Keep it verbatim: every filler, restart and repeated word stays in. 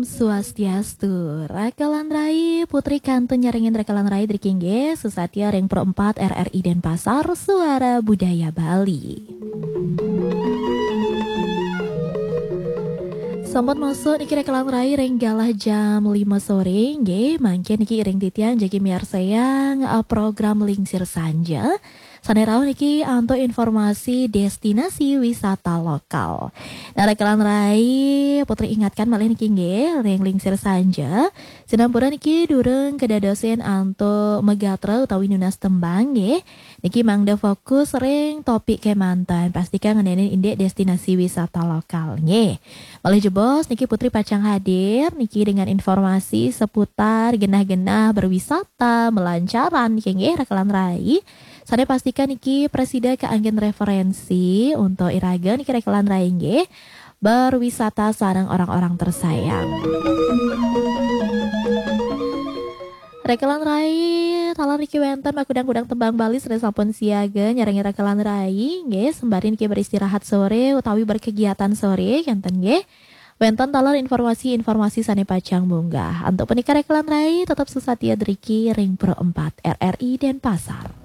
Swastiastu, Rakelan Rai, Putri kantun nyarengin Rakelan Rai driki nggih, susatia ring Pro empat R R I Denpasar, Suara Budaya Bali. Sampun masuk niki Rakelan Rai ring galah jam lima sore nggih, mangkin niki iring titiang jagi miarsayang, eh, program Lingsir Sanja. Sane rauh niki antuk informasi destinasi wisata lokal. Nah, Rakelan Rai, Putri ingatkan malih niki nggih, ring Lingsir Sanja. Sinampura niki durung kedadosin antuk magatra utawi nunas tembang nggih. Niki mangda fokus ring topik kemanten. Pastikan ngenenin indik destinasi wisata lokal nggih. Malih jebos niki Putri pacang hadir niki dengan informasi seputar genah-genah berwisata, melancaran niki nggih Rakelan Rai. Sane pastikan niki prasida kaanggen referensi untuk iraga niki Rakelan Rai nggih. Berwisata sareng orang-orang tersayang. Rakelan Rai, taler niki wenten makudang-kudang tembang Bali sane sampun siaga nyarengin Rakelan Rai nggih, sembari niki beristirahat sore utawi berkegiatan sore kenten nggih. Wenten taler informasi-informasi sane pacang munggah. Antuk punika Rakelan Rai tetep susatia driki ring Pro empat R R I Denpasar.